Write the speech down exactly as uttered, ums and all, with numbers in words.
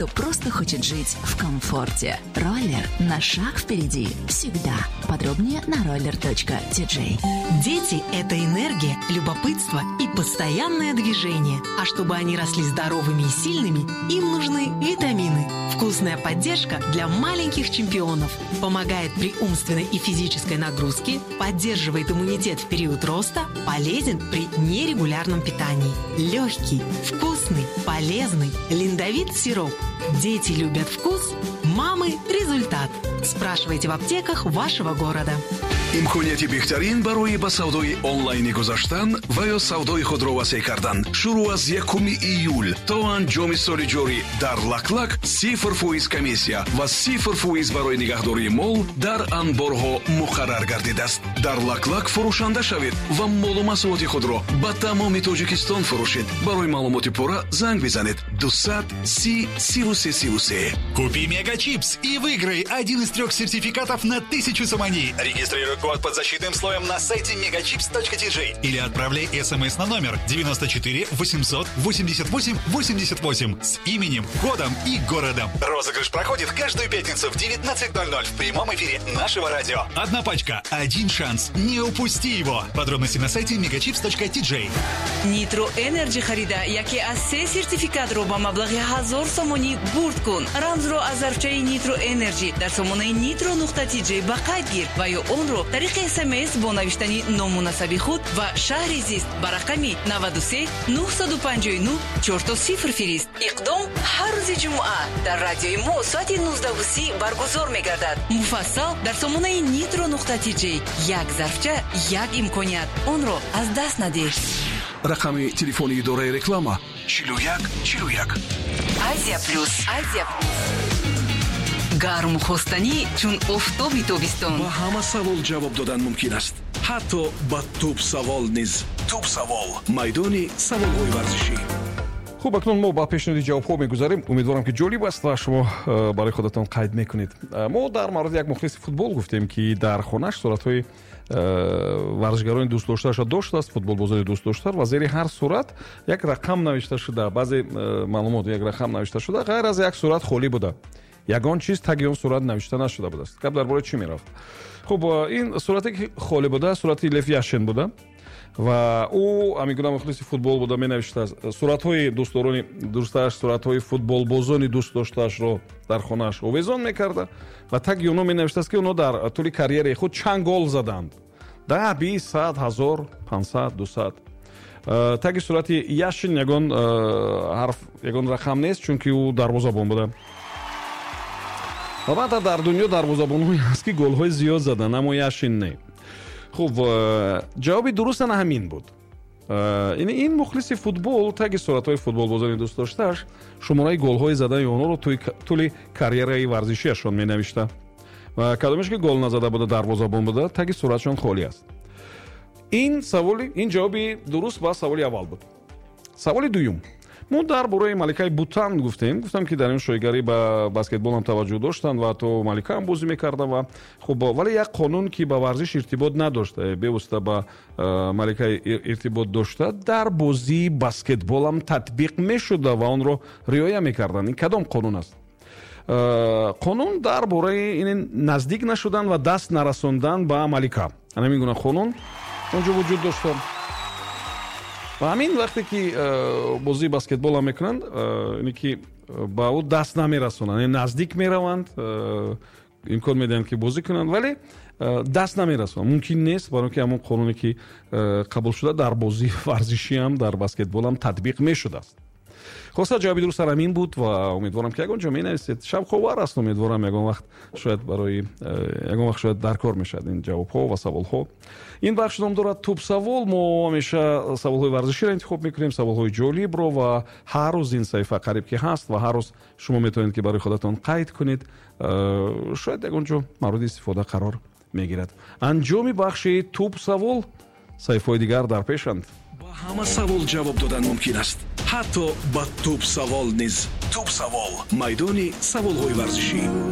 Кто просто хочет жить в комфорте. Роллер на шаг впереди всегда. Подробнее на roller.tj. Дети – это энергия, любопытство и постоянное движение. А чтобы они росли здоровыми и сильными, им нужны витамины. Вкусная поддержка для маленьких чемпионов. Помогает при умственной и физической нагрузке, поддерживает иммунитет в период роста, полезен при нерегулярном питании. Легкий, вкусный, полезный Линдовит сироп. Дети любят вкус, мамы – результат. Спрашивайте в аптеках вашего города. Имконияти беҳтарин барои ба савдои онлайнӣ гузаштан ва ё савдои худро васеъ кардан шурӯъ аз якуми июл то анҷоми соли ҷорӣ дар Лаклак сифр фоиз комиссия ва сифр фоиз барои нигаҳдории мол дар анборҳо муқаррар гардидааст. Дар Лаклак фурӯшанда шавед ва молу маҳсулоти худро ба тамоми Тоҷикистон фурӯшед. Барои маълумоти пурра занг бизанед дусад си сиву се сиву се. Купи Мегачипс и выиграй один из трех сертификатов на тысячу сомони. Регистрируй код под защитным слоем на сайте megachips.tj или отправляй смс на номер девяносто четыре восемьсот восемьдесят восемь восемьдесят восемь с именем, годом и городом. Розыгрыш проходит каждую пятницу в девятнадцать ноль ноль в прямом эфире нашего радио. Одна пачка, один шанс. Не упусти его. Подробности на сайте megachips.tj. Нитро Энерджи харида, яке аз се сертификатро ба маблағи ҳазор сомонӣ бурд кун. Рамзро аз зарфчаи Нитро Энерджи дар сомонаи нитро нуқта тиҷей ба қайд гир ва ё онро тариқи смс бо навиштани ному насаби худ ва шаҳри зист ба рақами наваду се нӯҳсаду панҷоҳу нӯҳ чорто сифр фирист. Иқдом ҳар рӯзи ҷумъа дар радиои мо соати нуздаҳу си баргузор мегардад. Муфассал дар сомонаи нитро нуқта тиҷей. Як зарфча, як имконият, онро аз даст надеҳ. Рақами телефони идораи реклама чилу як чилу як. Азия Плюс, Азия гарму хостанӣ чун офтоби тобистон. Ба ҳама савол ҷавоб додан мумкин аст, ҳатто ба тӯб савол низ. Тӯб савол, майдони саволҳои варзишӣ. Хуб, акнун мо ба пешниҳоди ҷавобҳо мегузарем. Умедворам, ки ҷолиб аст ва шумо э, барои худатон қайд мекунед. э, мо дар мавриди як мухлиси футбол гуфтем, ки дар хонаш суратҳои э, варзишгарони дӯстдоштаашро доштааст, футболбозони дӯстдошта, ва зери ҳар сурат як рақам навишта шуда, баъзе маълумот, як рақам навишта шуда, ғайр аз як сурат холӣ буда, ягон чиз таги он сурат навишта нашуда будааст. Гап дар бораи чӣ мерафт? Хуб, ин сурате, ки холӣ буда, сурати Лев Яшин буда ва ӯ ҳамин гуна мухлиси футбол буда, менавиштааст суратҳои дӯстдорони дӯсташ, суратҳои футболбозони дӯст доштаашро дар хонааш овезон мекарда ва таги онҳо менавиштааст, ки онҳо дар тӯли карьераи худ чанд гол заданд: даҳ, бист, сад, ҳазор, пансад, дусад. э, таги сурати Яшин ягон э, ҳарф, ягон рақам нест, чунки ӯ дарвозабон буда. Албатта, дар дунё дарвозабонҳое ҳаст, ки голҳои зиёд заданд, аммо Яшин не. Хуб, э, ҷавоби дуруст ана ҳамин буд. э, ин мухлиси футбол таги суратҳои футболбозони дӯстдоштааш шумораи голҳои задани онҳоро тӯли карьераи варзишиашон менавишта ва кадомеш ки гол назада буда, дарвозабон буда, таги суратшон холӣ аст. Ин саволи, ин ҷавоби дуруст ба саволи аввал буд. Саволи дуюм: мо дар бораи маликаи Бутан гуфтем. Гуфтам, ки дар ин шоҳигарӣ ба баскетболам таваҷҷӯҳ доштанд ва ҳатто маликаам бозӣ мекарда. Ва хуб, вале як қонун, ки ба варзиш иртибот надошт, э, бевосита ба э, малика иртибот дошта, дар бозии баскетболам татбиқ мешуда ва онро риоя мекарданд. Ин кадом қонун аст? э, қонун дар бораи ин наздик нашудан ва даст нарасондан ба малика. Ҳамин гуна қонун онҷо вуҷуд дошта ва ҳамин вақте ки э, бозии баскетболам мекунанд, э, ине ки э, ба ӯ даст намерасонанд, наздик мераванд, имкон медиҳанд, ки бозӣ кунанд, вале даст намерасонанд, мумкин нест, барои ки ҳамон қонуне, ки қабул шуда, дар бозии варзишиам, дар баскетболам татбиқ мешудааст. Хулоса, ҷавоби дуруст ҳамин буд ва умедворам, ки ягон ҷо менависед. Шавқовар аст. Умедворам, ягон вақт шояд барои ягон вақт шояд дар кор мешавад ин ҷавобҳо ва саволҳо. Ин бахш ном дорад «Тӯбсавол». Мо ҳамеша саволҳои варзиширо интихоб мекунем, саволҳои ҷолибро, ва ҳар рӯз ин саҳифа қариб ки ҳаст ва ҳар рӯз шумо метавонед, ки барои худатон қайд кунед. э, шояд ягон ҷо мавриди истифода қарор мегирад. Анҷоми бахши «Тӯбсавол», саҳифаҳои дигар дар пешанд. Ба ҳама савол ҷавоб додан мумкин аст, ҳатто ба тӯб савол низ. Тӯб савол, майдони саволҳои варзишӣ.